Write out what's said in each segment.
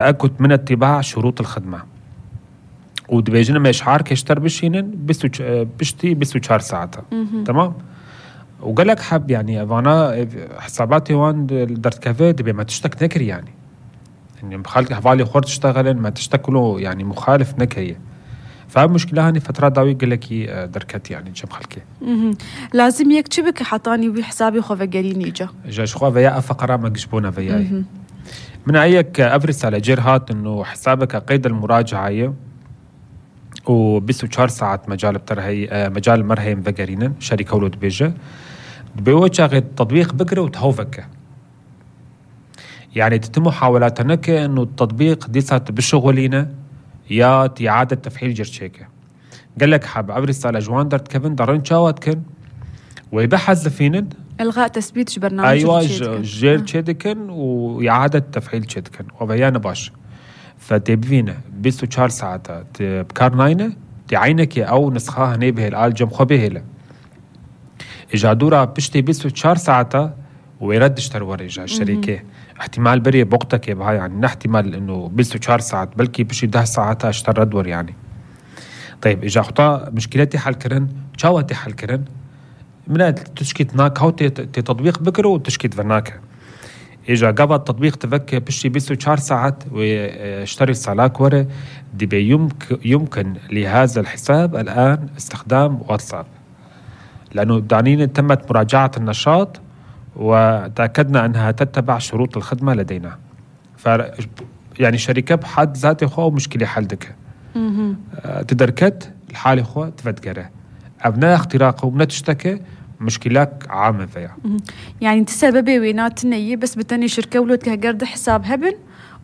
تأكد من اتباع شروط الخدمة ودبيجنا إشعار كيشتر بشينن بشتي بسو 4 ساعات. تمام. وقالك حب يعني أنا حساباتي وان درت كافيه دبي ما تشتك نكر يعني مخالك حوالي خور تشتغلن ما تشتكلو يعني مخالف نكرية. فمشكلة هاني فترة داوي قلكي دركت يعني جم خلكي لازم يكتبك حطاني بحسابي خوفا قريني جا شخوا فيا فقرة ما قشبونا فياي من أيك أفرس على جيرهات إنه حسابك قيد المراجعة وبسو 4 ساعات مجال بترهي مجال مرهي مفقرين شركة ولود بيجا بيوجه غير تطبيق بكرة وتهوفك يعني تتم محاولاتنك إنه التطبيق ديسات بشغلينا يا إعادة تفعيل جرشيكه. قال لك حاب أفرس على جوان درت كيفن دارن شاوات كن ويبحث فينن إلغاء تثبيت برنامج أيوة جير تشيدكن وإعادة تفعيل تشيدكن وبيان باش فتبينا بيسو 4 ساعات بكار ناينة تعينك أو نسخة هنيبه الآل جم خبيه إجا دورا بشتي بيسو 4 ساعات ويردش ترور إجا الشركة احتمال بري بوقتك بهاي يعني نحتمال إنه بيسو 4 ساعات بلكي بشي 10 ساعات اشتر ردور يعني. طيب إجا خطا مشكلتي حل كرن شاوتي حل كرن من تشكيت ناك هاو تطبيق بكرو وتشكيت فناك إجا قبل التطبيق تفكر بشي بيسو 4 ساعات واشتري الصلاك ورا دي يمكن لهذا الحساب الآن استخدام واتساب لأنه دانين تمت مراجعة النشاط وتأكدنا أنها تتبع شروط الخدمة لدينا. يعني شركة بحد ذاتي خو مشكلة حلدك تدركت الحالة خو تفدقره أبناء اختراق ومنا تشتكي مشكلات عامة فيها يعني تسببي وينات نية بس بتاني شركة ولود كهجرد حساب هبن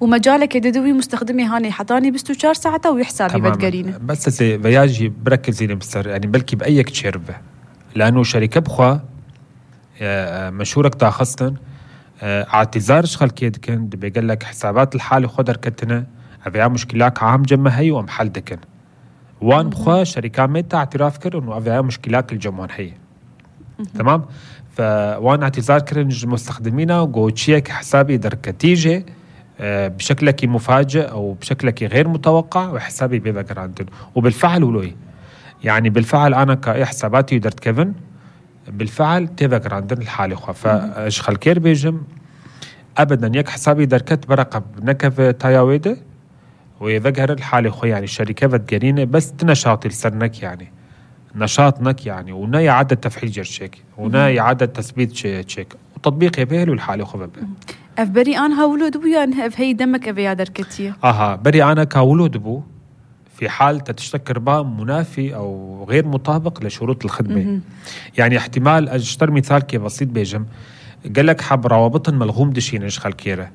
ومجالك يدوي مستخدمي هاني حطاني بستو 4 ساعات ويحسابي بدقرينه بس فياجي بركز بسر يعني بلكي بأيك تشربه لأنه شركة بخوا مشهورك تاخصتن اعتذار شغل كيد كن بيقول لك حسابات الحالة خدر كتنا أبيع مشكلات عام جمع هي ومحل دكن وان بخوا شركة ميتا اعتراف كر إنه أبيع مشكلات الجمهور هي تمام. فوان اعتذار كرن مستخدمينا وقوتشيك حسابي دركتيجي بشكلك مفاجئ أو بشكلك غير متوقع وحسابي بيبقى عندن وبالفعل ولوي يعني بالفعل أنا كحساباتي درت كيفن بالفعل تبقى عندن الحالة خوا فاشخل كير بيجم أبدا يك حسابي دركت برقب نكف تاياويده ويذكر الحالة خو يعني الشركة بتقرينه بس تنشاط السرنك يعني نشاطنك يعني ونا إعادة تفعيل جرشيك ونا إعادة تثبيت شيك وتطبيق يبهل والحالة خو ببه بري أنا هولود بو يعني هي دمك أبي دركتيه بري أنا كولود بو في حال تشتكر با منافي أو غير مطابق لشروط الخدمة يعني احتمال أشتر مثال كي بسيط بيجم قال لك حب روابط ملغوم دشين إشخال كيرة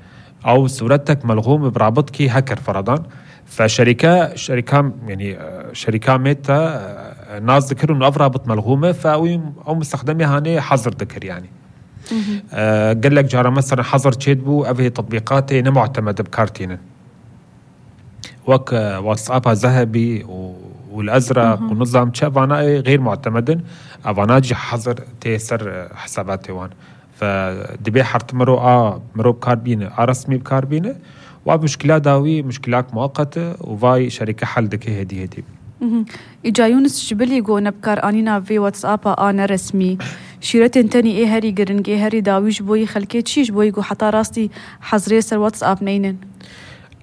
أو صورتك ملغوم برابطك هكر فرضا فشركة يعني شركة ميتا ناس ذكروا إنه أفرابط ملغومة أو مستخدمي هاني حظر ذكر يعني قال لك جارة مثلا حظر تشيدبو أبي تطبيقاتي نمعتمد بكارتين وك واتساب ذهبي والأزرق ونظام شافانا غير معتمد أفاناجي حظر تيسر حساباتي وان فدبي حرت مرو بكاربينة رسمي بكاربينة ومشكلات داوي مشكلات مؤقتة وفاي شركة حل دكي هدي إجا يونس شبلي قو نبكار آنينا في واتساب آنا رسمي شيرتين تاني إيه هاري قرنج إيه هاري داويش بوي خلكيت شيش بوي قو حتى راستي حزري سر واتساب نينن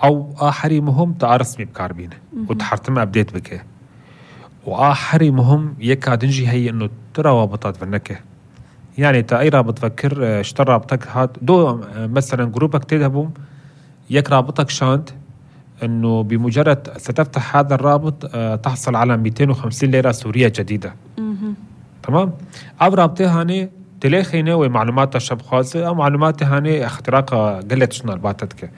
أو آخري مهم رسمي بكاربينة وتحرتم أبديت بك وآخري مهم يكادنجي هي إنه ترى رابطات فنكه يعني تأي رابط فكر اشترى رابطك هاد دو مثلا جروبك تذهبهم يك رابطك شانت إنه بمجرد ستفتح هذا الرابط تحصل على 250 ليرة سورية جديدة تمام. أو رابطه هاني تلاخينه ومعلومات الشب خاصة أو معلومات هاني اختراق قلت شنو الباتتك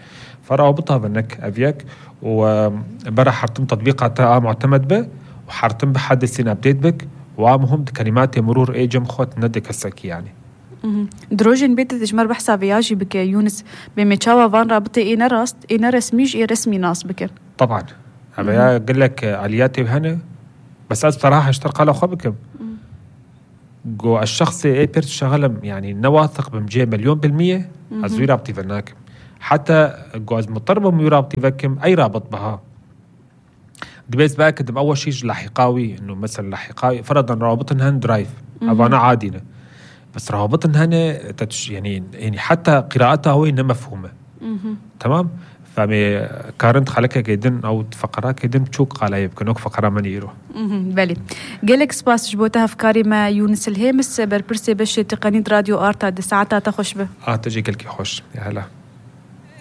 فرابطها بنك أبيك وبرا حرتم تطبيقاتها معتمد به وحرتم بحدثين أبديت بك ومهم كلمات مرور ايجم خوت ندك السكي يعني دروجين بيت تجمر بحساب ياجي بك يونس بمتشاوا فان رابطه اينا رسميش اي رسمي ناس بك طبعا ابي اقول لك الياتي هنا بس بصراحه اشترق على خبكم جو الشخص اي بيرت شغلم يعني نواثق بمجي 1,000,000% ازوي رابطي فناك حتى جواز مضطربة مرابطي فكم أي رابط بها دبيس بقى كدم أول شيء لاحقاوي إنه مثلا لاحقاوي فرضا روابطن هن درايف أبانا عادية بس روابطن هن يعني حتى قراءتها هو إنها مفهومة تمام فمي كارنت خلقها كيدن أو فقرة كيدن بتشوك قالا يبكنوك فقرة منيرو بله جالك سباس جبوتها أفكاري ما يونس الهيمس بربرسي بشي تقنيد راديو آرتا دي ساعتها تخش به تجي كلكي خوش يا هلا